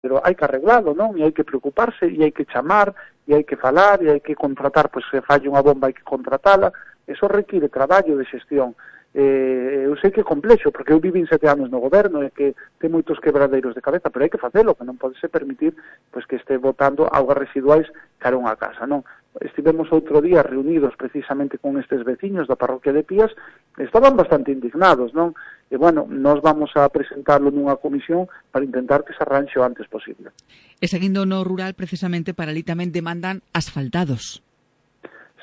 pero hai que arreglalo, non? E hai que preocuparse, e hai que chamar, e hai que falar, e hai que contratar, pois se falla unha bomba hai que contratala. Eso require traballo de xestión. Eu sei que é complexo, porque eu vivín 7 anos no goberno e que ten moitos quebradeiros de cabeza, pero hai que facelo, que non podese permitir pois que este botando augas residuais cara a unha casa, non? Estivemos outro día reunidos precisamente con estes veciños da parroquia de Pías, estaban bastante indignados, non? E, bueno, nós vamos a presentarlo nunha comisión para intentar que se arranxe o antes posible. E seguindo no rural, precisamente, para ali tamén demandan asfaltados.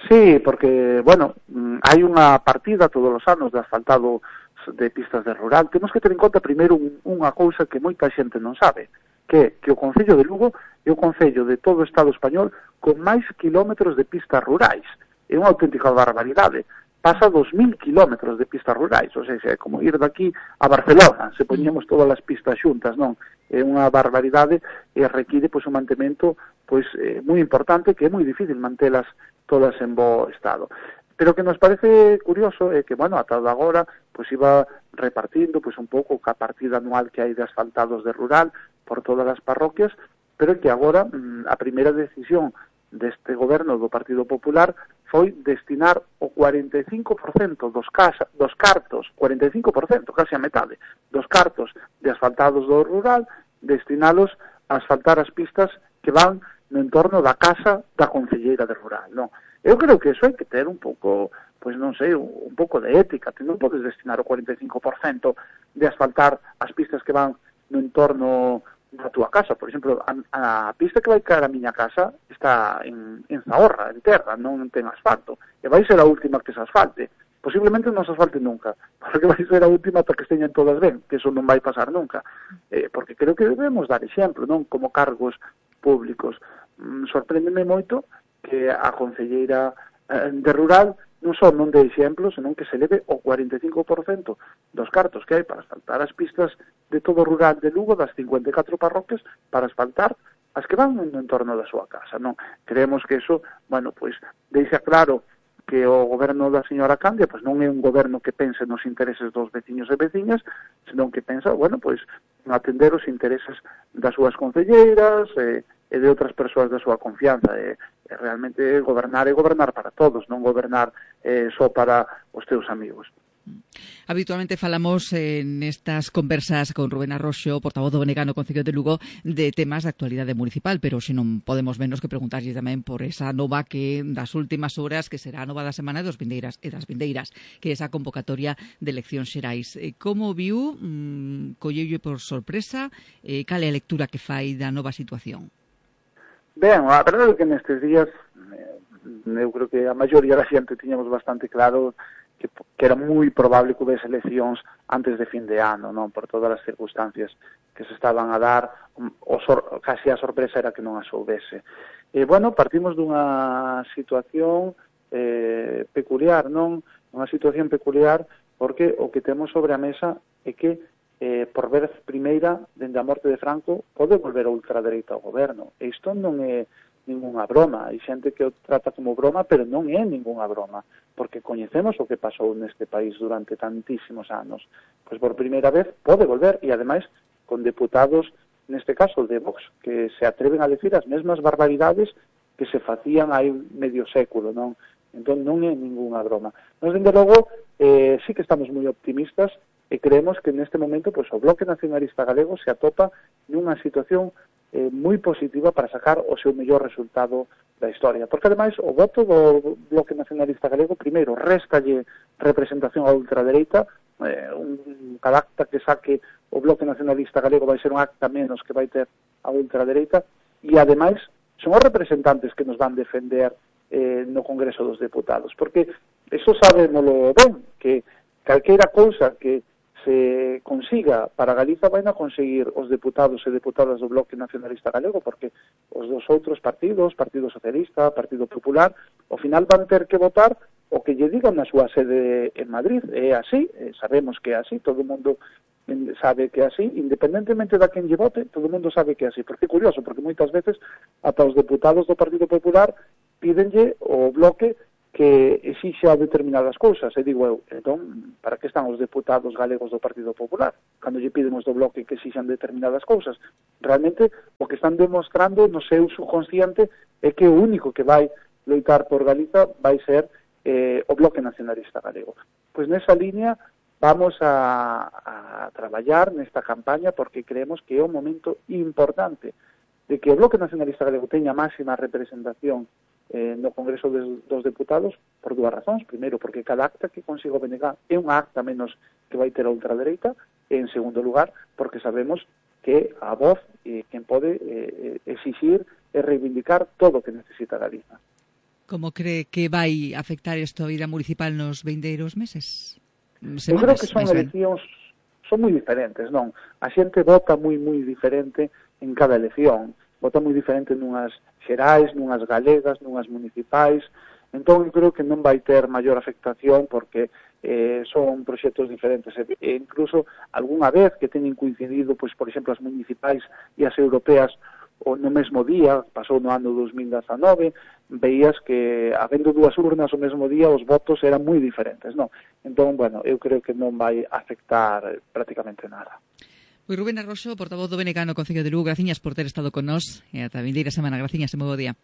Sí, porque, bueno, hai unha partida todos os anos de asfaltado de pistas de rural. Temos que ter en conta primeiro unha cousa que moita xente non sabe, que o Concello de Lugo é o Concello de todo o Estado español con máis kilómetros de pistas rurais. É unha auténtica barbaridade. Pasa 2.000 kilómetros de pistas rurais, ou seja, é como ir daqui a Barcelona, se poñemos todas as pistas xuntas, non? É unha barbaridade e require pois un mantemento pois moi importante, que é moi difícil mantelas todas en bo estado. Pero que nos parece curioso é que, bueno, ata agora, pois iba repartindo pois un pouco ca partida anual que hai de asfaltados de rural por todas as parroquias, pero que agora a primeira decisión deste goberno do Partido Popular foi destinar o 45% dos cartos, 45%, casi a metade, dos cartos de asfaltados do rural, destinalos a asfaltar as pistas que van no entorno da casa da concelleira de rural, non? Eu creo que eso hai que ter un pouco, pois non sei, un pouco de ética. Ti non podes destinar o 45% de asfaltar as pistas que van no entorno da túa casa. Por exemplo, a pista que vai caer a miña casa está en Zahorra, en terra, non ten asfalto. E vai ser a última que se asfalte. Posiblemente non se asfalte nunca, porque vai ser a última ata que esteñan todas ben, que eso non vai pasar nunca. Porque creo que debemos dar exemplo, non? Como cargos públicos. Sorpréndeme moito que a concelleira de rural non só non de exemplo, senón que se leve o 45% dos cartos que hai para asfaltar as pistas de todo o rural de Lugo, das 54 parroquias, para asfaltar as que van no entorno da súa casa, non? Creemos que eso, bueno, pois, deixa claro que o goberno da señora Candia pois non é un goberno que pense nos intereses dos veciños e veciñas, senón que pensa, bueno, pois, en atender os intereses das súas concelleiras e de outras persoas da súa confianza. Realmente gobernar é gobernar para todos, non gobernar só para os teus amigos. Habitualmente falamos nestas conversas con Rubén Arroxo, portavoz do BNG no Concello de Lugo, de temas de actualidade municipal, pero se non podemos menos que preguntarlle tamén por esa nova que das últimas horas, que será a nova da semana dos vindeiras e das vindeiras, que é esa convocatoria de eleccións xerais. Como viu, colleulle por sorpresa, cal é a lectura que fai da nova situación? Ben, a verdade é que nestes días eu creo que a maioría da xente tiñamos bastante claro que era moi probable que houvese eleccións antes de fin de ano, non? Por todas as circunstancias que se estaban a dar, casi a sorpresa era que non as houvese. Bueno, partimos dunha situación peculiar, non? Unha situación peculiar porque o que temos sobre a mesa é que por vez primeira, dende a morte de Franco, pode volver a ultradereita ao goberno. E isto non é ningunha broma. Hai xente que o trata como broma, pero non é ningunha broma, porque coñecemos o que pasou neste país durante tantísimos anos. Pois por primeira vez pode volver, e ademais con deputados, neste caso de Vox, que se atreven a decir as mesmas barbaridades que se facían hai medio século, non? Entón non é ningunha broma. Nós, dende logo, sí que estamos moi optimistas e creemos que neste momento pois, o Bloque Nacionalista Galego se atopa nunha situación moi positiva para sacar o seu mellor resultado da historia. Porque, ademais, o voto do Bloque Nacionalista Galego, primeiro, réstalle representación á ultradereita, cada acta que saque o Bloque Nacionalista Galego vai ser un acta menos que vai ter a ultradereita, e, ademais, son os representantes que nos van defender no Congreso dos Deputados. Porque, eso sabémolo ben, que calqueira cousa que se consiga para Galiza vai a conseguir os deputados e deputadas do Bloque Nacionalista Galego, porque os dos outros partidos, Partido Socialista, Partido Popular, ao final van ter que votar o que lle digan na súa sede en Madrid. É así, sabemos que é así, todo o mundo sabe que é así, independentemente da quen lle vote, todo o mundo sabe que é así. Porque é curioso, porque moitas veces ata os deputados do Partido Popular pídenlle o Bloque que exixa determinadas cousas, e digo eu, entón, para que están os deputados galegos do Partido Popular? Cando lle piden os do Bloque que exixan determinadas cousas. Realmente, o que están demostrando no seu subconsciente é que o único que vai loitar por Galiza vai ser o Bloque Nacionalista Galego. Pois nesa línea vamos a traballar nesta campaña porque creemos que é un momento importante de que o Bloque Nacionalista Galego teña máxima representación no Congreso dos Deputados por dúas razóns. Primeiro, porque cada acta que consiga o BNG é unha acta menos que vai ter a ultradereita, e en segundo lugar, porque sabemos que a voz quen pode exixir e reivindicar todo o que necesita Galiza. Como cree que vai afectar isto a vida municipal nos vindeiros meses? Eu creo que son eleccións son moi diferentes, non? A xente vota moi diferente en cada elección. Vota moi diferente nunhas xerais, nunhas galegas, nunhas municipais. Entón, eu creo que non vai ter maior afectación porque son proxectos diferentes. E incluso, algunha vez que teñen coincidido, pois, por exemplo, as municipais e as europeas no mesmo día, pasou no ano 2019, veías que, habendo dúas urnas o mesmo día, os votos eran moi diferentes, non? Entón, bueno, eu creo que non vai afectar prácticamente nada. Pois Rubén Arroxo, portavoz do BNG no Concello de Lugo, graciñas por ter estado con nós e ata a vindeira semana. Graciñas e moi bo día.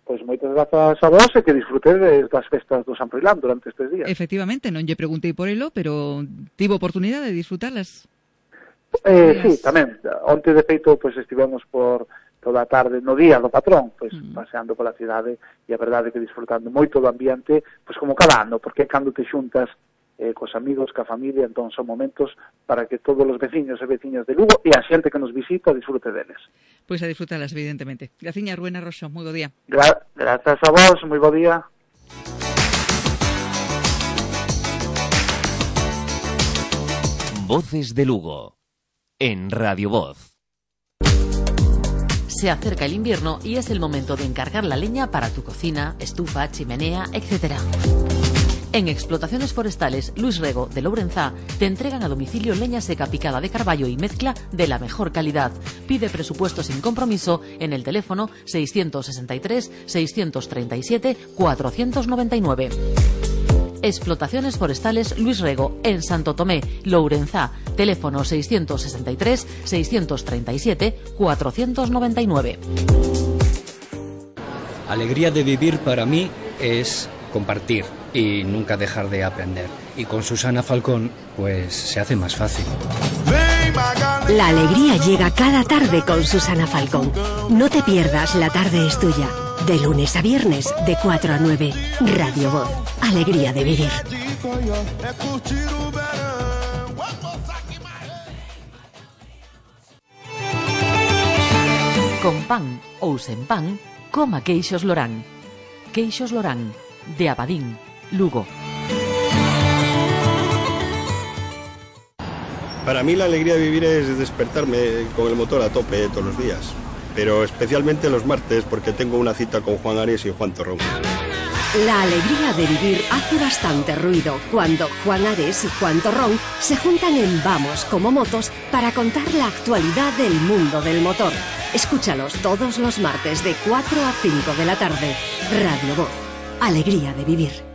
Pois moitas grazas a vos e que disfrutedes das festas do San Froilán durante estes días. Efectivamente, non lle preguntei por elo, pero tivo oportunidade de disfrutarlas. Sí, tamén. Onte, de feito, pois estivemos por toda a tarde no día do patrón, pois paseando pola cidade, e a verdade que disfrutando moito do ambiente, pois como cada ano, porque cando te xuntas cos amigos, ca familia, entón son momentos para que todos os veciños e veciñas de Lugo e a xente que nos visita disfrute deles. Pois a disfrutalas, evidentemente. Graciña, Rubén Arroxo, moi bo día. Grazas a vos, moi bo día. Voces de Lugo, en Radio Voz. Se acerca el invierno y es el momento de encargar la leña para tu cocina, estufa, chimenea, etc. En Explotaciones Forestales Luis Rego de Lourenzá te entregan a domicilio leña seca picada de carballo y mezcla de la mejor calidad. Pide presupuesto sin compromiso en el teléfono 663 637 499. Explotaciones Forestales Luis Rego en Santo Tomé, Lourenzá, teléfono 663 637 499. Alegría de vivir para mí es compartir y nunca dejar de aprender. Y con Susana Falcón, pues se hace más fácil. La alegría llega cada tarde con Susana Falcón. No te pierdas La Tarde es Tuya. De lunes a viernes, de 4 a 9. Radio Voz. Alegría de vivir. Con pan ou sen pan, coma queixos Lorán. Queixos Lorán, de Abadín, Lugo. Para mí la alegría de vivir es despertarme con el motor a tope todos los días, pero especialmente los martes porque tengo una cita con Juan Ares y Juan Torrón. La alegría de vivir hace bastante ruido cuando Juan Ares y Juan Torrón se juntan en Vamos como Motos para contar la actualidad del mundo del motor. Escúchalos todos los martes de 4 a 5 de la tarde. Radio Voz. Alegría de vivir.